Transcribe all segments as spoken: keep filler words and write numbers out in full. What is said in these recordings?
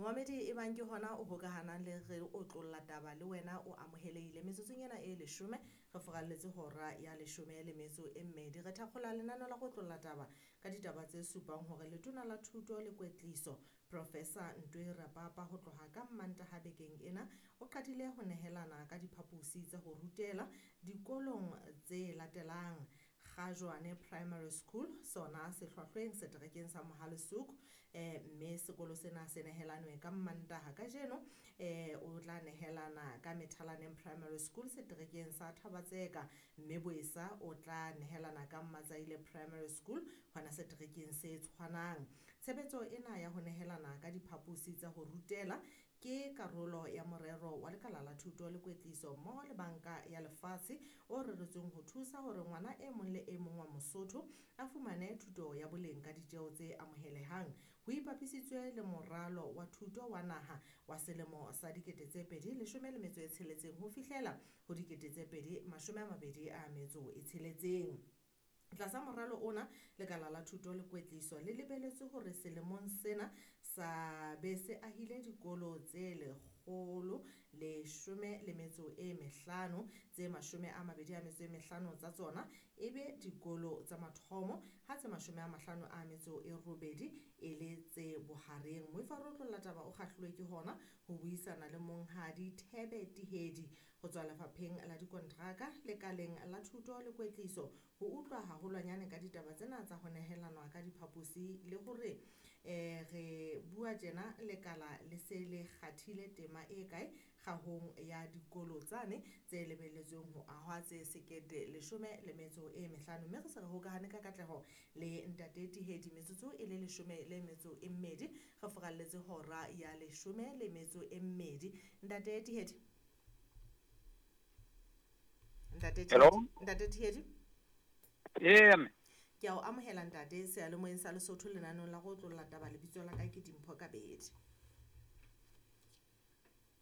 Momamedi e bang ke hona o hokahanang le re otlolla taba le wena o amohelehile. Metsotsong ena e leshome re furalletse hora ya leshome le metso e mmedi. Re thakgola lenaneo la go otlolla taba ka ditaba tse supang hore letona la thuto le kwetliso Professor Ntwe Rapapa ho tloha ka Mmantaha bekeng ena o qadile ho nehelana ka diphaposi tsa ho rutela dikolong tse latelang: Kgajwane Primary School sona se hlwahlweng seterekeng sa Mohale'shoek, eh, mme sekolo sena se nehelanwe ka Mmantaha. Kajeno eh, o tla nehelana ka Methalaneng Primary School seterekeng sa Thaba-Tseka, mme Boesa o tla nehelana ka Matsaile Primary School hona seterekeng se tshwanang. Tshebetso ena ya ho nehelana ka diphaposi tsa ho rutela ke karolo ya morero wa lekala la thuto le kwetliso mmoho le banka ya lefatshe o reretsweng ho thusa hore ngwana e mong le e mong wa Mosotho a fumane thuto ya boleng ka ditjeo tse amohelehang. Ho ipapisitswe le moralo wa thuto wa naha wa selemo sa dikete tse pedi leshome le metso e tsheletseng ho fihlela ho dikete tse pedi mashome a mabedi a metso e tsheletseng. Tlasa moralo ona, lekala la thuto le kwetliso le lebeletswe hore selemong sena sa be se ahile dikolo tse lekgolo leshome le metso e mehlano, tse mashome a mabedi a metso e mehlano tsa tsona e be dikolo tsa mathomo, ha tse mashome a mahlano a metso e robedi e le tse bohareng. Moifo wa re otlolla taba o kgahluwe ke hona ho buisana le monghadi Thebe Tihedi ho tswa lefapheng la dikontraka lekaleng la thuto le kwetliso ho utlwa haholwanyane ka ditaba tsena tsa ho nehelanwa ka diphaposi le hore eh, re bua tjena lekala le se le kgathile tema e kae kgahong ya dikolo tsane tse lebelletsweng ho ahwa tse sekete leshome le metso e mehlano. Mme re se re hokahane ka katleho le ntate Tihedi metsotso e le leshome le metso e mmedi re furalletse hora ya leshome le metso e mmedi. Ntate Tihedi, ntate Hello? Tihedi, ntate Tihedi, Ee mme. Ke a o amohela ntate seyalemoyeng sa Lesotho lenaneong la go otlolla taba. Lebitso la ka ke Dimpho Kabedi.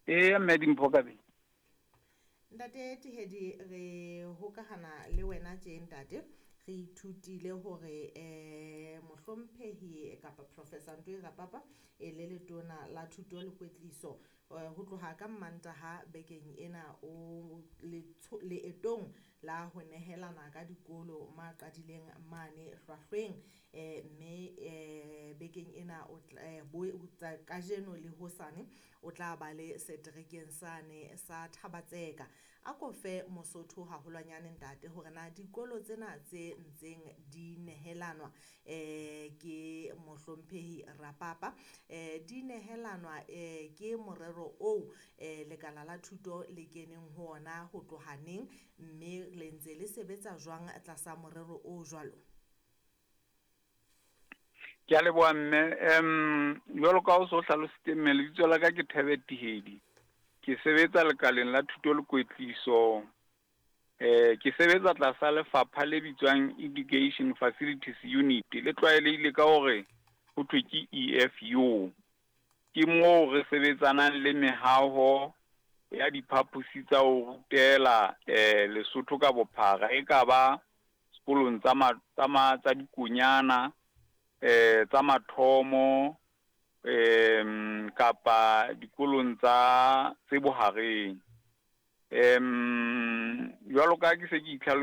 Ee mme Dimpho Kabedi. Ntate Tihedi, re hokahana le wena tje ntate. Re ithutile hore eh mohlomphehi kapa Professor Ntwe Rapapa e le letona la thuto le kwetliso eh, ho tloha ka Mmantaha bekeng ena o letsho- leetong la ho nehelana ka dikolo ma qadileng mane hlwahlweng, eh, mme eh, bekeng ena o tla, eh, bo, tsa- kajeno le hosane o tla ba le seterekeng sane sa Thaba-Tseka. A ko fe Mosotho haholwanyane ntate hore na dikolo tsena tse ntseng di nehelanwa eh, ke mohlomphehi Rapapa eh, di nehelanwa eh, ke morero oo eh, lekala la thuto le keneng ho ona ho tloha neng, mme le ntse le sebetsa jwang tlasa morero o jwalo? Ke a leboha mme. Em jwalo ka o so hlalositse mme, lebitso la ka ke Thebe Tihedi. Ke sebetsa lekaleng la thuto le kwetliso. Eh ke sebetsa tlasa lefapha le bitswang Education Facilities Unit, le tlwaelehile ka hore ho thwe ke E F U. Ke moo re sebetsanang le mehaho ya diphaposi tsa ho rutela eh Lesotho ka bophara, e ka ba sekolong tsa ma-, tsa ma-, tsa dikonyana, eh tsa mathomo, em kapa dikolong tsa tse bohareng. Em jwalo ka ke se ke itlhalo